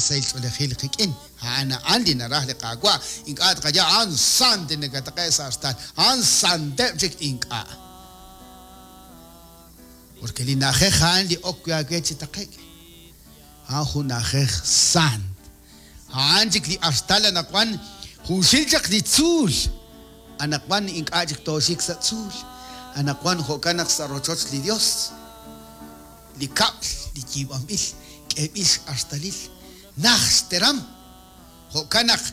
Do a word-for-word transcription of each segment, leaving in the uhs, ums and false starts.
sahil ch'oolejil qik'in. A'an a'an li naraj li Qaawa'. Ink'a' tqaya a'an sant li nakataqe' sa' artal. A'an santeb' chik ink'a'. Porque li na'ajej a'an li ok wi' aawe chi taqe'k. A'an jun na'ajej sant. A'an chik li artal anaqwan junxil chaq li tzuul. Anaqwan ink'a' chik tooxik sa' tzuul. Anaqwan jo'kan naq sa' rochoch li Dios. Li kab'l li yiib'anb'il k'eeb'il x'artalil naj xteram. Jo'kan naq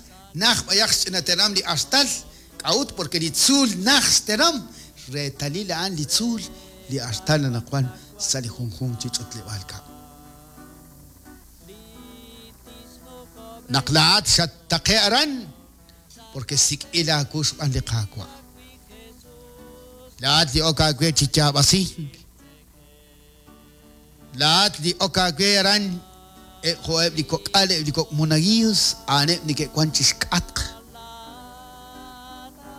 naj b'ayaq xch'ina teram li artal. K'a'ut porque li tzuul naj xteram. Reetalil a'an li tzuul li artal anaqwan sa' li junjunq chi ch'utleb'aal kab'l. Naq laa'at xattaqe aran porque sik'b'il aawu xb'aan li Qaawa'. Laa'at li ok aawe chi yaab'asink. Laa'at li ok aawe aran jo'eb' li kok'al eb' li kok' monaguillos a'aneb' neke'wan chi xk'atq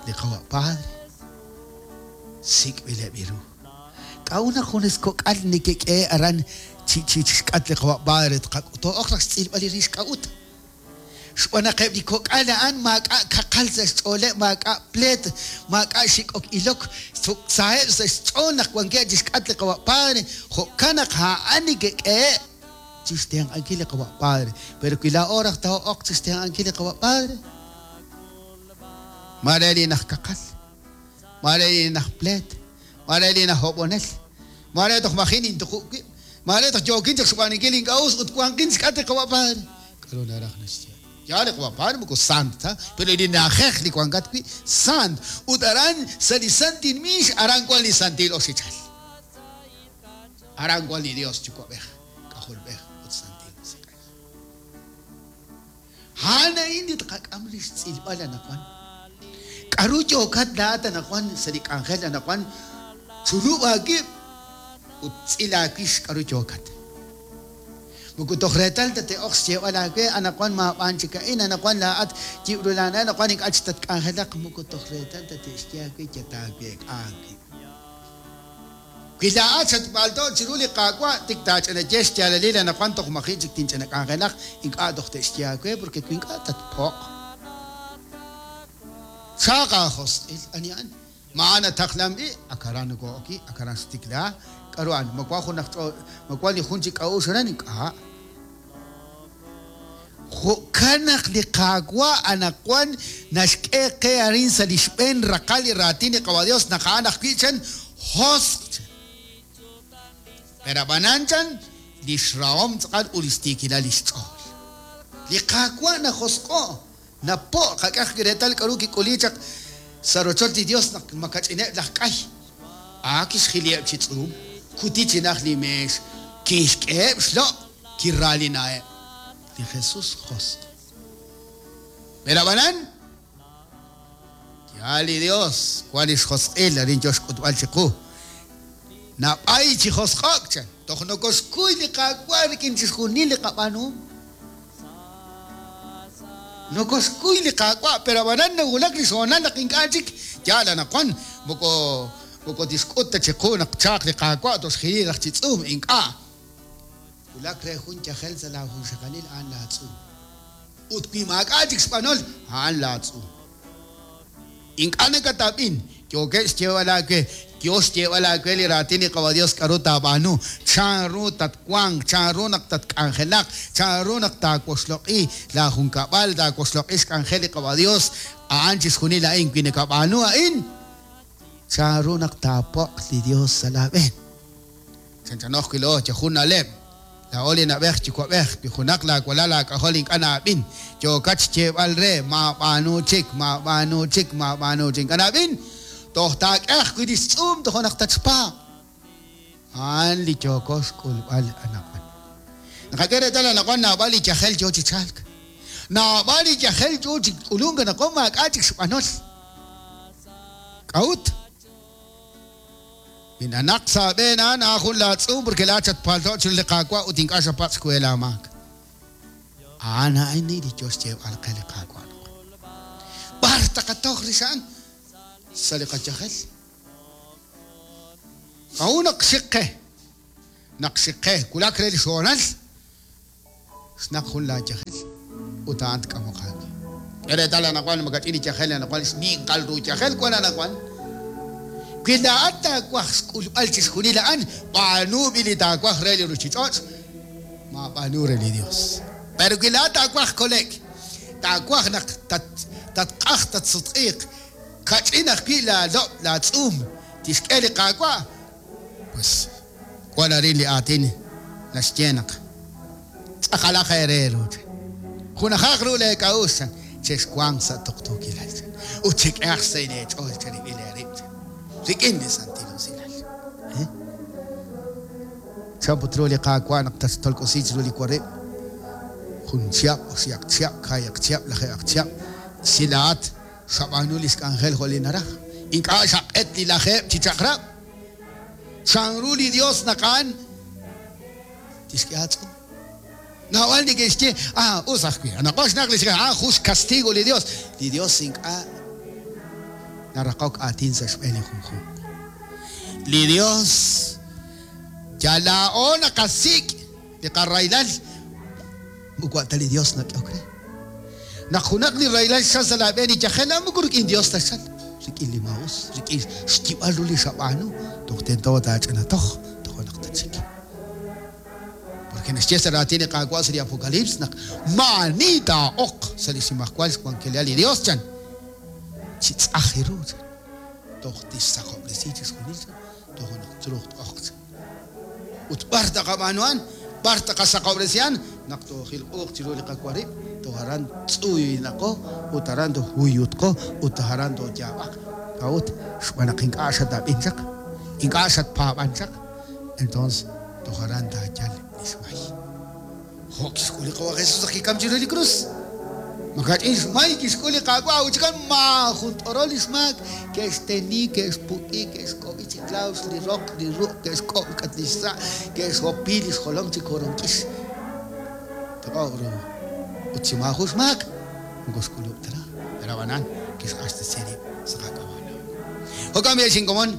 li Qawa' Padre sik'b'ileb' ru. K'a'ut naq junes kok'al neke'k'e aran chi chi xk'atq li Qawa' Padre tqak'uto'oq raj xtz'ilb'al li rix k'a'ut. Xb'aan naq eb' li kok'al a'an maak'a' kaqal sa' xch'ooleb', maak'a' pleet, maak'a' xik'ok ilok, saheb' sa' xch'ool naq wankeb' chi xk'atq li Qawa' Padre, jo'kan naq a'an neke'k'ehe' chi xtenq'ankil li Qawa' Padre. Pero wi laa'o raj taa'oq chi xtenq'ankil li Qawa' Padre, mare li naj kaqal, mare li naj pleet, mare li naj hob'onel, mare toj maji' nintuqu' wib', mare toj yookin chaq xb'aanunkil ink'a' us ut wanqin xk'atq li Qawa' Padre. K'aru naraj naxye? Ya li Qawa' Padre moko sant ta, pero li na'ajej li wankat wi' sant. Ut aran sa' li santil miix aran wan li santil oxichal. Aran wan li Dios Yuwa'b'ej, K'ajolb'ej ut Santil Musiq'ej. A'an a'in li tqak'am li xtz'ilb'al anaqwan. K'aru yookat laa'at anaqwan sa' li k'anjel anaqwan chulub' aawib' ut tz'il aawix k'aru yookat. Moko toj reetal tate'oq xyeeb'al aawe anaqwan maab'aan chik a'in, anaqwan laa'at yib'ru laana, anaqwan ink'a' chik tatk'anjelaq, moko toj reetal tate'xye aawe yataaweek'a aawib'. Wi laa'at xatb'alto' chiru li Qaawa' tik taach'anaye xyaalalil anaqwan toj maji' chik tinch'ina k'anjelaq, ink'a' toj te'xye aawe porque wi ink'a' tatpo'q. Xaq aajosq'il ani a'an. Ma'an ataqlanb'i, akaran nokoo'oki, akaran xtikla, k'aru a'an, ma wan jun aj ch'o- ma wan li jun chi k'a'uxl aran ink'a'. Jo'kan naq li Qaawa' anaqwan naxk'e qe arin sa' li xb'een raqal li raatin li Qawa' Dios naq a'an ajwi' chan josq chan. Pero ab'anan chan li xrahom tz'aqal ut li xtiikilal li xch'ool. Li Qaawa' najosq'o', napo' qak'aj reetal k'aru kik'uli chaq sa' rochoch li Dios naq makach'ineb' laj k'ay. A kixjiliheb' chi tz'uum, kuti chi naj li meex, kixk'eheb' xlo', kiraalinaheb'. Li Jesús josq'. Pero ab'anan, ya li Dios wan li xjosq'il arin yo xk'utb'al chiqu. Nab'ay chi josq'o'k chan, toj nokoxkuy li Qaawa' rik'in chixjunil li qab'aanuhom. Nokoxkuy li Qaawa', pero ab'anan nawulak li xhoonal naq ink'a' chik yaal anaqwan moko moko tixk'ut ta chiqu naq chaaq li Qaawa' toxjili raj chi tz'uum ink'a'. Wulak re jun yajel sa' laajunxaqalil a'an laatz'uum. Ut wi maak'a' chik xb'anol a'an laatz'uum. Ink'a' nakatab'in, yookeb' xyeeb'al aawe, yo xyeeb'al aawe li raatin li Qawa' Dios k'aru taab'aanu, chanru tatwanq, chanru naq tatk'anjelaq, chanru naq taawoxloq'i laajunkab'al, taawoxloq'i xk'anjel li Qawa' Dios, a'an chixjunil a'in wi nakab'aanu a'in, chanru naq taapo'q li Dios sa' laab'een. Chanchanoj wi' loo, yajun na'leb'. Laa'o li na'b'ej yuwa'b'ej, wi junaq laawalal laak'ajol ink'a' na'ab'in, yookat xyeeb'al re maab'aanu chik, maab'aanu chik, maab'aanu chik. Ink'a' na'ab'in, toj taak'e ajwi' li xtz'uum toj naq tatxpaab'. A'an li yooko xk'ulb'al anaqwan. Naqak'e reetal anaqwan naab'al li yajel yoo chi chalk. Naab'al li yajel yoo chi k'ulunk anaqwan maak'a' chik xb'anol. K'a'ut? Minanaq sa' b'een a'an a'an jun laatz'uum porque laa'at xatpalto' chiru li Qaawa' ut ink'a' xapatz' xkuye laamaak. A'an a'in li yo xyeeb'al qe li Qaawa'. B'ar taqatoj rix a'an? Sa' li qayajel. K'a'ut naq xiq qe? Naq xiq qe, wulak re li xhoonal, Xnaq jun laayajel ut a'an tk'amoq aawe. K'e reetal anaqwan makach'in li yajel anaqwan xninqal ru yajel wan anaqwan. Wi laa'at taawaj xk'ulb'al chixjunil a'an, b'aanu b'i li taawaj re li ruuchich'och', maab'aanu re li Dios. Pero wi laa'at taawaj kole'k, taawaj naq tatq'aj tatsutq'iiq, kach'in ajwi' laalob' laatz'uum tixk'e li Qaawa', pues wan arin li aatin naxye naq tz'aqalaq eere ru. Junajaq ru leek'a'uxl chexwanq sa' tuqtuukilal ut chek'ehaq xsahil eech'ool cherib'il eerib' rik'in li santil usilal. Chan put ru li Qaawa' naq tatxtolk'osi chiru li warib' jun chihab', oxihaq chihab', kaayaq chihab', lajeaq chihab', si laa'at xab'aanu li xk'anjel jo' li naraj. Ink'a' xaq'et li lajeeb' chi chaq'rab'. Chanru li Dios naq a'an tixk'e aatz'um. Naab'al neke'xye, ah, us ajwi'. Anaqwan xnaq li xk'e, ah, jun xcastigo li Dios. Li Dios ink'a' naraqok aatin sa' xb'een li junjunq. Li Dios yal laa'o naqasik' li qarahilal, moko ta li Dios nak'ehok re. Naq junaq li rahilal xchal sa' laab'een li yajel, moko rik'in Dios taxchal, rik'in li maa'us, rik'in xyib'al ru li xab'aanu, toj tento taach'inatoj, toj naq tachik. Porque naxye sa' raatin li Qaawa' sa' li Apocalipsis naq maani taa'oq sa' li xnimajwal xwankelal li Dios chan, chi tz'aj ru chan, toj tixsaqob'resi chixjunil chan, toj naq truuq t'oq chan. Ut b'ar taqab'aanu a'an, b'ar taqasaqob'resi a'an, naq toojilq'uuq chiru li qawarib', toj aran tz'uynaqo, ut aran tojuyutqo, ut aran tooyaab'aq. K'a'ut xb'aan naq ink'a' xatab'in chaq, ink'a' xatpaab'an chaq, entonces toj aran taayal li xmay. Jo' kixk'ul li Qawa' Jesús naq kikam chiru li krus. Makach'in xmay kixk'ul li Qaawa' uchikan maajun t'orol li xmaak, ke'xteni, ke'xpuk'i, ke'xk'ob'i chi klaus li roq, li ruq', ke'xk'ob' k'at li xsa', ke'xhopi li xjolom chi koronk'ix. Toq'ob' ru. Ut chi maajun xmaak, moko xk'ulub' ta raj. Pero ab'anan kixq'axtesi rib' sa' qak'ab'a' laa'o. Jo'kan b'i' xinkomon.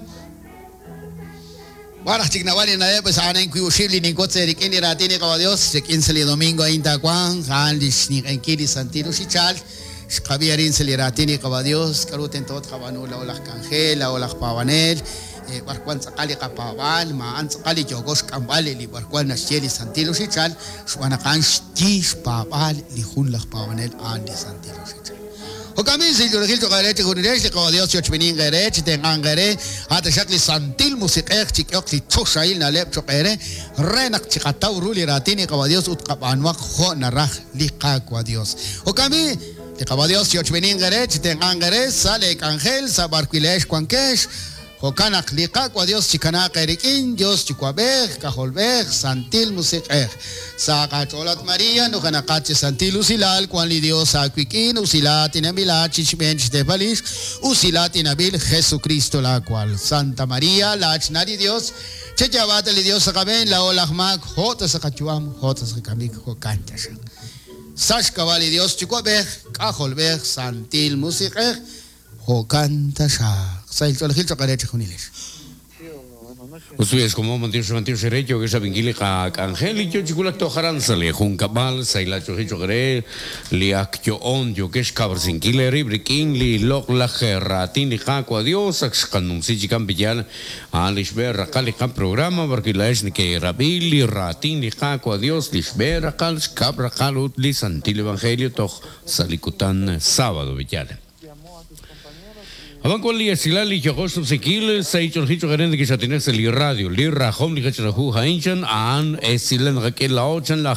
Waraj chik naab'al li na'leb' pues a'an wi'uxib' li ninkotz rik'in li raatin li Qawa' Dios, rik'in sa' li domingo a'in taawanq, a'an li xninq'enkil li Santil Uxichal, xqab'i arin sa' li raatin li Qawa' Dios, k'aru tento tqab'aanu laa'o laj k'anjel, laa'o laj paab'anel, b'ar wan tz'aqal li qapaab'aal, ma a'an tz'aqal li yooko xk'amb'al li b'ar wan naxye li Santil Uxichal, xb'aan naq a'an xyi xpaab'aal li jun laj paab'anel a'an li Santil Uxichal. Jo'kan b'i' silch'oolejil cho'q eere chijunilex li Qawa' Dios chochb'inin eere, chitenq'anq eere, a'taxaq li Santil Musiq'ej chik'ehok li choxahil na'leb' cho'q eere, re naq chiqataw ru li raatin li Qawa' Dios ut qab'aanuaq jo' naraj li Qaawa' Dios. Jo'kan b'i' li Qawa' Dios chochb'inin eere, chitenq'anq eere sa' leek'anjel, sa' b'arwilex wankex. Jo'kan naq li Qaawa' Dios chikanaaq eerik'in, Dios Yuwa'b'ej, K'ajolb'ej, Santil Musiq'ej. Sa' qach'oolat María, nujenaqat chi Santil Usilal, wan li Dios aawik'in, usilat inab'ilat chi xb'een xteepalix, usilat inab'il Jesucristo laakwal. Santa María, laachna li Dios, cheyaab'aata li Dios sa' qab'een, laa'o laj maak, jo' ta sa' qayu'am, jo' ta sa' qakamik, jo'kan taxaq. Sa' xk'ab'a' li Dios Yuwa'b'ej, K'ajolb'ej, Santil Musiq'ej, jo'kan taxaq. Sahil ch'oolejil cho'q eere chijunilex. Usuyex como mantiox mantiox ere yo que saben ka k'anjel yo chikulak tojaran sa li junkab'al sayla choji cho'q ere li ak yo'on yo que xkab'rsinkil erib' rik'in li loq laj raatin li Qaawa' Dios ak xqanumsi chikan piyal a'an li xb'een raqal li qaprograma porque laa'ex neke'rab'i li raatin li Qaawa' Dios li xb'een raqal xkab' raqal ut li Santil Evangelio toj sa' li kutan sábado piyal. Aban con li esilal li yojox subsekil saichol hicho gerente que xatinel li radio li rajom li hachrahu hainchan an esilan raquel la ochan la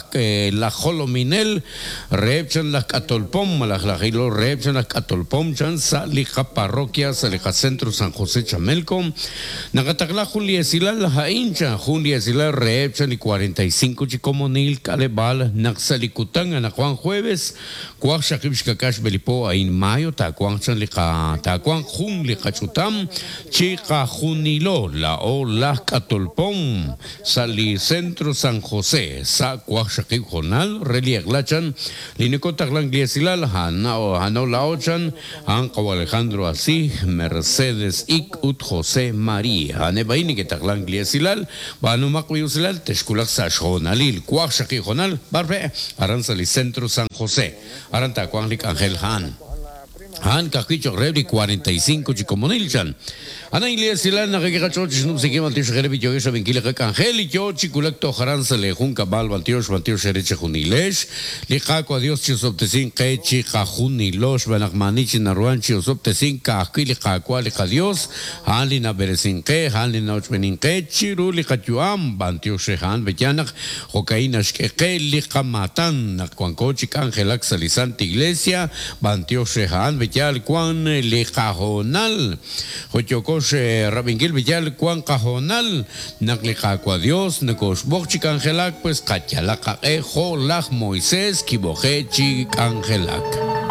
la jolominel repchan la catolpom la jilo repchan la catolpom chan sa li parroquia sa li centro San José Chamelco nakatakla juli esilal hainchan juli esilal repchan li cuarenta y cinco chicomonil kalebal naxalikután ana Juan jueves cuax shakib shkakash belipo ain mayo tacuan chan li ka tacuan jun li qach'utam chiqajunilo laa'o laj k'atolpom sa' li Centro San José sa' waqxaqib' hoonal re li eq'la chan li nikotaqlank li esilal ha'an la'o chan a'an qawa' Alejandro Así, Mercedes Ik ut José María. A'aneb' a'in neke'taqlank li esilal b'aanumaq wi usilal texkulaq sa' xhoonalil waqxaqib' hoonal b'arpe' aran sa' li Centro San José aran taawanq li k'anjel a'an. A'an ka'ajwi' cho'q reheb' li cuarenta y cinco chi komonil chan. Ana li esilal naq kiqach'och xnub'sinkil b'antiox reheb' li yo'yo xab'inkil li qak'anjel li yo chi wulak toj aran sa' li junkab'al b'antiox b'antiox re chijunilex li Qaawa' Dios chi osob'tesink qe chiqajunilo xb'aan naq maani chi naruhan chi osob'tesink ka'ajwi' li Qaawa' li qaDios a'an li nab'eresink qe a'an li na'ochb'enink qe chiru li qayu'am b'antiox re a'an b'eyan naq jo'ka'in naxk'e qe li qamatan naq wanko chi k'anjelak sa' li Santa Iglesia b'antiox re a'an b'eyal wan li qahoonal jo'yokox rab'inkil b'eyal wan qahoonal naq li Qaawa' Dios nokoxb'oq chi k'anjelak pues qayalaq qaq'e jo' laj Moisés kib'oqe chi k'anjelak.